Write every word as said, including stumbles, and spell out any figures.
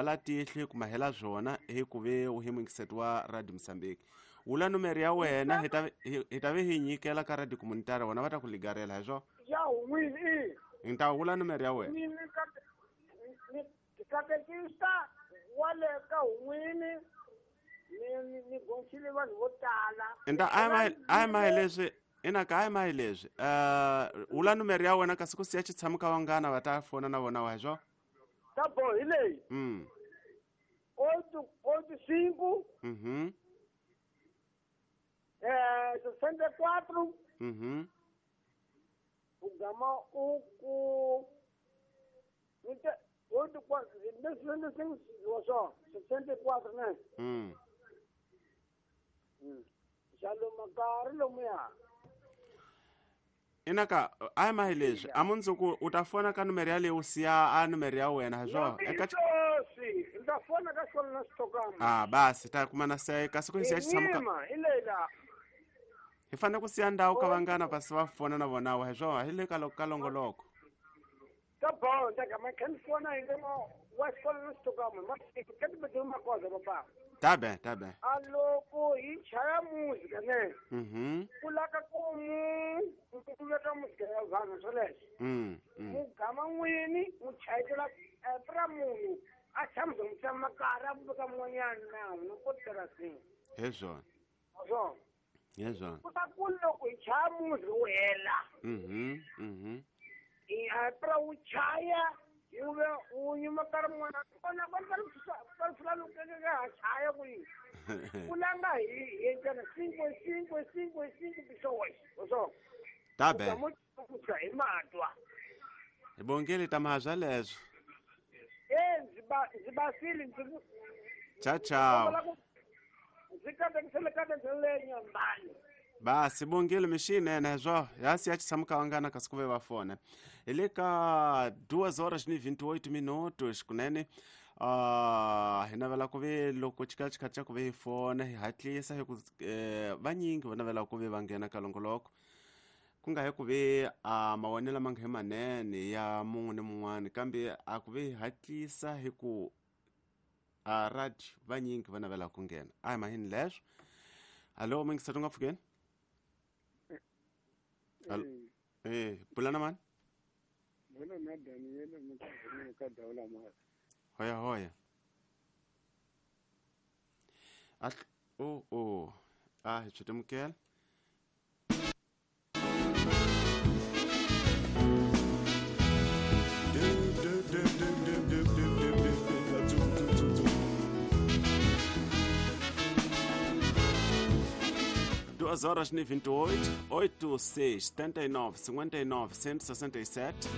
La tihlo ku mahela swona hi ku ve u hi muyingiseti wa Radio Mozambique. Wula numero ya wena hi ta hi ta ve hi nyikela ka Radio Comunitaria wona va ta ku ligarela hi swo. Ya wini i. Nta wula numero ya wena. Ni ni katekista wale ka wini ni ni gonchile vanhu vo tala. Nta ai ai mai leswi ina ka ai mai leswi. Eh wula numero ya wena kasi ku siya tshama ka vangana va ta fona na vona wa hi swo. Tá bom, e lei? Hum. Oito, oito, cinco. Uhum. É, sessenta e quatro. Uhum. O gama, o, o, oito, quatro, sessenta e cinco, só, sessenta e quatro, né? Hum. Hum. Já lo macar, lo mea. Inaka ai mai leswi a mundzuku u ta fona ka numero ya leyi u siya a numero ya wena hi swo eka ndza fona ka xona na xitokama. Ah basi ta kuma na se kasi ku siya tshama ka hi fanele ku siya ndhawu ka vangana pasi va fona na vona wa hi swo hi le ka ka longoloko. Ta bon ta ka ma kan fona hi mo wa xona na xitokama ma ka ti beduma makoza baba. Tabe tabe. Aloko hi chaya música ne. Mhm. Kulaka ku mu ku veka música ya vanhu swoleswo. Mm. Mugama n'wini mu chayela pra munhu a tshama mu tshama kara ku veka mun'wanyana na no ko terasini. Hi swona. Swona. Hi swona. Ku ta ku loko hi chaya música wu hela. Mhm. Mhm. I a pra wu chaya uve unyuma kara mwana kona kona kara fulano kaka chaya ku kulanga hi hi cinco cinco cinco cinco pessoas so tabe hi matwa hi bongele ta mahazwa leswo eh ndzi ba ndzi basile ndzi cha chao ndzi katekisele katekisele nyambani. Basi bongele mixinene swo ya siya tshama ka vangana kasi ku ve va fona. Hi le ka duas horas ni vinte e oito minutos kunene ah hi navela ku ve loko xikhala xikhala xa ku ve hi fona hi hatlisa hi ku vanyingi va navela ku ve va nghena ka longoloko ku nga hi ku ve a mavonelo ma nga hi manene ya mun'we ni mun'wana kambe a ku ve hi hatlisa hi ku a radio vanyingi va navela ku nghena a hi mahini leswo. Allo mingisatu nga pfukeni. Allo eh pulana man. Bona na Daniel mukazini ka daula ma. Hoya hoya. At oh oh ah hi chitumkel. Duas horas e vinte e oito, oito, seis, setenta e nove, cinquenta e nove, cento e sessenta e sete.